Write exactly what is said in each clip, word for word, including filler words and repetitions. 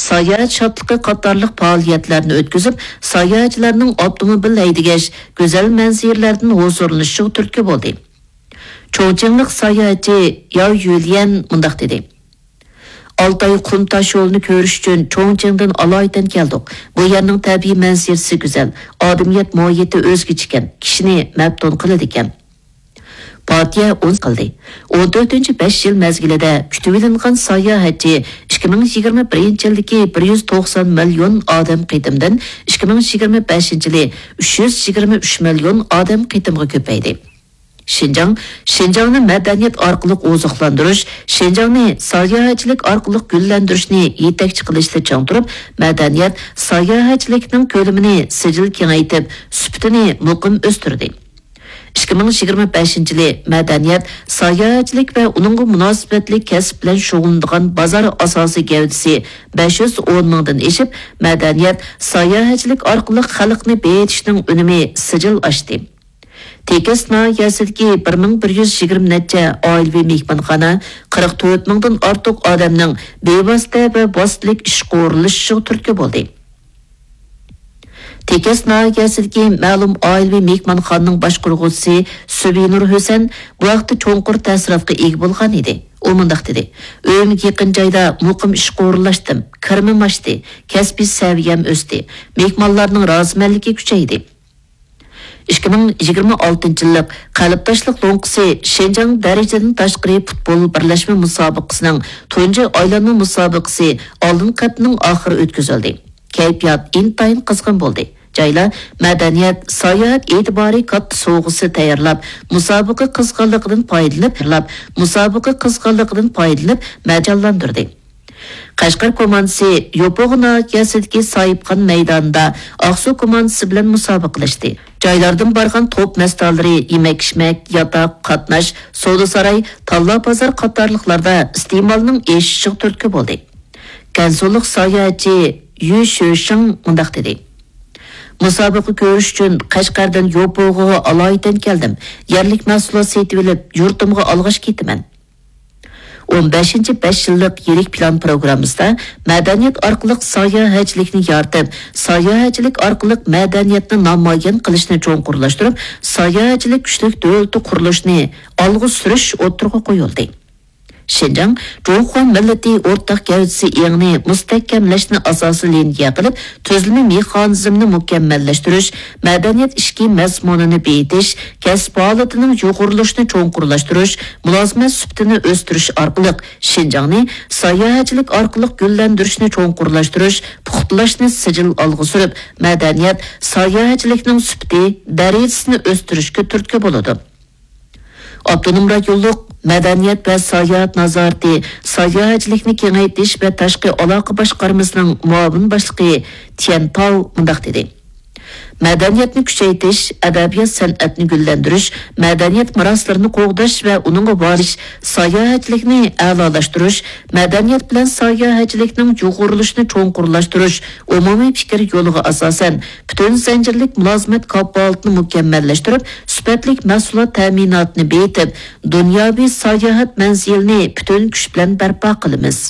ساياھەت شادلىقى قاتارلىق پائالىيەتلەرنى ئۆتكۈزۈپ، ساياھەتچىلەرنىڭ ئاپتوموبىل ھەيدىگەچ گۈزەل مەنزىرىلەردىن ھۇزۇرلىنىشىغا تۈرتكە بولدى. چۇڭچىڭلىق ساياھەتچى ياۋ يۈليەن مۇنداق دېدى: ئالتاي قۇم تاش يولىنى كۆرۈش ئۈچۈن چۇڭچىڭدىن ئالايىتەن كەلدۇق. بۇ يەرنىڭ تەبىئىي مەنزىرىسى گۈزەل، ئادەمىيەت مۇھىتى ئۆزگىچىكەن، كىشىنى مەپتۇن قىلىدىكەن. پارتىيە ئون قىلدى. ئون تۆتىنچى بەش يىل مەزگىلىدە كۈتۈۋېلىنغان ساياھەتچى ئىككى مىڭ يىگىرمە بىرىنچى يىلدىكى بىر يۈز توقسان مىليون ئادەم قېتىمدىن ئىككى مىڭ يىگىرمە بەشىنچى يىلى ئۈچ يۈز يىگىرمە ئۈچ مىليون ئادەم قېتىمغا كۆپەيدى. شىنجاڭ، شىنجاڭنى مەدەنىيەت ئارقىلىق ئوزۇقلاندۇرۇش، شىنجاڭنى ساياھەتچىلىك ئارقىلىق گۈللەندۈرۈشنى يېتەكچى قىلىشتا چىڭ تۇرۇپ، مەدەنىيەت، ساياھەتچىلىكنىڭ كۆلىمىنى سىجىل كېڭەيتىپ، سۈپىتىنى مۇقىم ئۆستۈردى. ئىككى مىڭ يىگىرمە بەشىنچى يىلى مەدەنىيەت، ساياھەتچىلىك ۋە ئۇنىڭغا مۇناسىۋەتلىك كەسىپ بىلەن شۇغۇللىنىدىغان بازار ئاساسىي گەۋدىسى بەش يۈز ئون مىڭدىن ئېشىپ، مەدەنىيەت، ساياھەتچىلىك ئارقىلىق خەلقنى بېيىتىشنىڭ ئۈنۈمى سىجىل ئاشتى. تېكەس ناھىيەسىدىكى بىر مىڭ بىر يۈز يىگىرمە نەچچە ئائىلىۋى مېھمانخانا قىرىق تۆت مىڭدىن ئارتۇق ئادەمنىڭ بىۋاسىتە ۋە ۋاسىتىلىك ئىشقا ئورۇنلىشىشىغا تۈرتكە بولدى. تېكەس ناھىيەسىدىكى مەلۇم ئائىلىۋى مېھمانخانىنىڭ باشقۇرغۇچىسى سۈبىنۇر ھۈسەن بۇ ھەقتە چوڭقۇر تەسىراتقا ئىگە بولغان ئىدى. ئۇ مۇنداق دېدى: ئۆيۈمگە يېقىن جايدا مۇقىم ئىشقا ئورۇنلاشتىم، كىرىمىم ئاشتى، كەسپىي سەۋىيەم ئۆستى، مېھمانلارنىڭ رازىمەنلىكى كۈچەيدى. ئىككى مىڭ يىگىرمە ئالتىنچى يىللىق قەلبداشلىق لوڭقىسى شىنجاڭ دەرىجىدىن تاشقىرى پۇتبول بىرلەشمە مۇسابىقىسىنىڭ تۇنجى ئايلانما مۇسابىقىسى ئالدىنقى ھەپتىنىڭ ئاخىرى ئۆتكۈزۈلدى. كەيپىيات ئىنتايىن قىزغىن بولدى. جايلار مەدەنىيەت، ساياھەت ئېتىبارى كاتتا سوۋغىسى تەييارلاپ، مۇسابىقە قىزغىنلىقىدىن پايدىلىنىپ، مۇسابىقە قىزغىنلىقىدىن پايدىلىنىپ مەجانلاندۇردى. قەشقەر كوماندىسى يوپۇرغا ناھىيەسىدىكى ساھىبخان مەيدانىدا ئاقسۇ كوماندىسى بىلەن مۇسابىقىلەشتى. جايلاردىن بارغان توپ مەستانىلىرى يېمەك-ئىچمەك، ياتاق، قاتناش، سودا-ساراي، تاللا-بازار قاتارلىقلاردا ئىستېمالنىڭ ئېشىشىغا تۈرتكە بولدى. گەنسۇلۇق ساياھەتچى يۈ شۆشىڭ مۇنداق دېدى: مۇسابىقە كۆرۈش ئۈچۈن قەشقەردىن يوپۇرغىغا ئالايىتەن كەلدىم. يەرلىك مەھسۇلات سېتىۋېلىپ، يۇرتۇمغا ئالغاچ كېتىمەن. ئون بەشىنچى بەش يىللىق يىرىك پىلان پروگراممىسىدا مەدەنىيەت ئارقىلىق ساياھەتچىلىكنى يارىتىپ، ساياھەتچىلىك ئارقىلىق مەدەنىيەتنى نامايان قىلىشنى چوڭقۇرلاشتۇرۇپ، ساياھەتچىلىك كۈچلۈك دۆلىتى قۇرۇلۇشىنى ئالغا سۈرۈش ئوتتۇرىغا قويۇلدى. شىنجاڭ جۇڭخۇا مىللىتى ئورتاق گەۋدىسى ئېڭىنى مۇستەھكەملەشنى ئاساسىي لىنىيە قىلىپ، تۈزۈلمە مېخانىزمىنى مۇكەممەللەشتۈرۈش، مەدەنىيەت ئىچكى مەزمۇنىنى بېيىتىش، كەسىپ ھالىتىنىڭ يۇغۇرۇلۇشىنى چوڭقۇرلاشتۇرۇش، مۇلازىمەت سۈپىتىنى ئۆستۈرۈش ئارقىلىق شىنجاڭنى ساياھەتچىلىك ئارقىلىق گۈللەندۈرۈشنى چوڭقۇرلاشتۇرۇش، پۇختىلاشنى سىجىل ئالغا سۈرۈپ، مەدەنىيەت، ساياھەتچىلىكنىڭ سۈپىتى، دەرىجىسىنى ئۆستۈرۈشكە تۈرتكە بولىدۇ. ئاپتونوم رايونلۇق مەدەنىيەت ۋە ساياھەت نازارىتى، ساياھەتچىلىكنى كېڭەيتىش ۋە تاشقى ئالاقە باشقارمىسىنىڭ مۇئاۋىن باشلىقى تيەن تاۋ مۇنداق دېدى: مەدەنىيەتنى كۈچەيتىش، ئەدەبىيات-سەنئەتنى گۈللەندۈرۈش، مەدەنىيەت مىراسلىرىنى قوغداش ۋە ئۇنىڭغا بارىش، ساياھەتچىلىكنى ئەلالاشتۇرۇش، مەدەنىيەت بىلەن ساياھەتچىلىكنىڭ يۇغۇرۇلۇشىنى چوڭقۇرلاشتۇرۇش ئومۇمىي پىكىر يولىغا ئاساسەن، پۈتۈن زەنجىرلىك مۇلازىمەت كاپالىتىنى مۇكەممەللەشتۈرۈپ، سۈپەتلىك مەھسۇلات تەمىناتىنى بېيىتىپ، دۇنياۋى ساياھەت مەنزىلىنى پۈتۈن كۈچ بىلەن بەرپا قىلىمىز.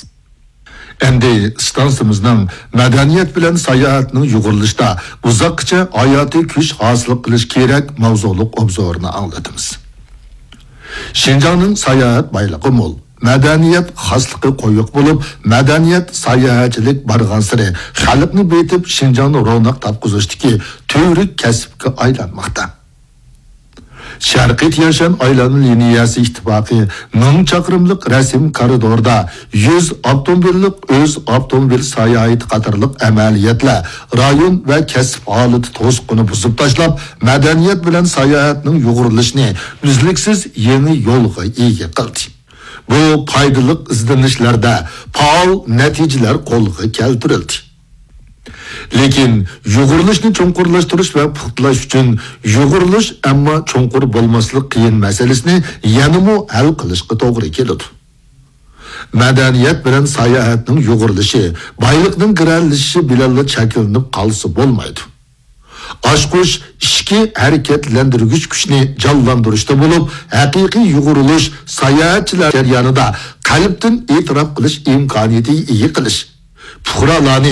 ئەمدى ئىستانسىمىزنىڭ مەدەنىيەت بىلەن ساياھەتنىڭ يۇغۇرۇلۇشىدا ئۇزاققىچە ھاياتىي كۈچ ھاسىل قىلىش كېرەك ماۋزۇلۇق ئوبزورىنى ئاڭلىتىمىز. شىنجاڭنىڭ ساياھەت بايلىقى مول، مەدەنىيەت خاسلىقى قويۇق بولۇپ، مەدەنىيەت ساياھەتچىلىك بارغانسېرى خەلقنى بېيىتىپ، شىنجاڭنى روناق تاپقۇزۇشتىكى تۈۋرۈك كەسىپكە ئايلانماقتا. شەرقىي تيەنشان ئايلانما لىنىيەسى ئىتتىپاقى مىڭ چاقىرىملىق رەسىم كارىدوردا يۈز ئاپتوموبىللىق ئۆز ئاپتوموبىل ساياھىتى قاتارلىق ئەمەلىيەتلەر رايون ۋە كەسىپ ھالىتى توسۇقىنى بۇزۇپ تاشلاپ، مەدەنىيەت بىلەن ساياھەتنىڭ يۇغۇرۇلۇشىنى ئۈزلۈكسىز يېڭى يولغا ئىگە قىلدى. بۇ پايدىلىق ئىزدىنىشلەردە پائال نەتىجىلەر قولغا كەلتۈرۈلدى. لېكىن يۇغۇرۇلۇشنى چوڭقۇرلاشتۇرۇش ۋە پۇختىلاش ئۈچۈن يۇغۇرۇلۇش، ئەمما چوڭقۇر بولماسلىق قىيىن مەسىلىسىنى يەنىمۇ ھەل قىلىشقا توغرا كېلىدۇ. مەدەنىيەت بىلەن ساياھەتنىڭ يۇغۇرۇلۇشى بايلىقنىڭ گىرەلىشىشى بىلەنلا چەكلىنىپ قالسا بولمايدۇ. ئاچقۇچ ئىچكى ھەرىكەتلەندۈرگۈچ كۈچنى جانلاندۇرۇشتا بولۇپ، ھەقىقىي يۇغۇرۇلۇش ساياھەتچىلەر جەريانىدا قەلبتىن ئېتىراپ قىلىش ئىمكانىيىتىگە ئىگە قىلىش، پۇقرالارنى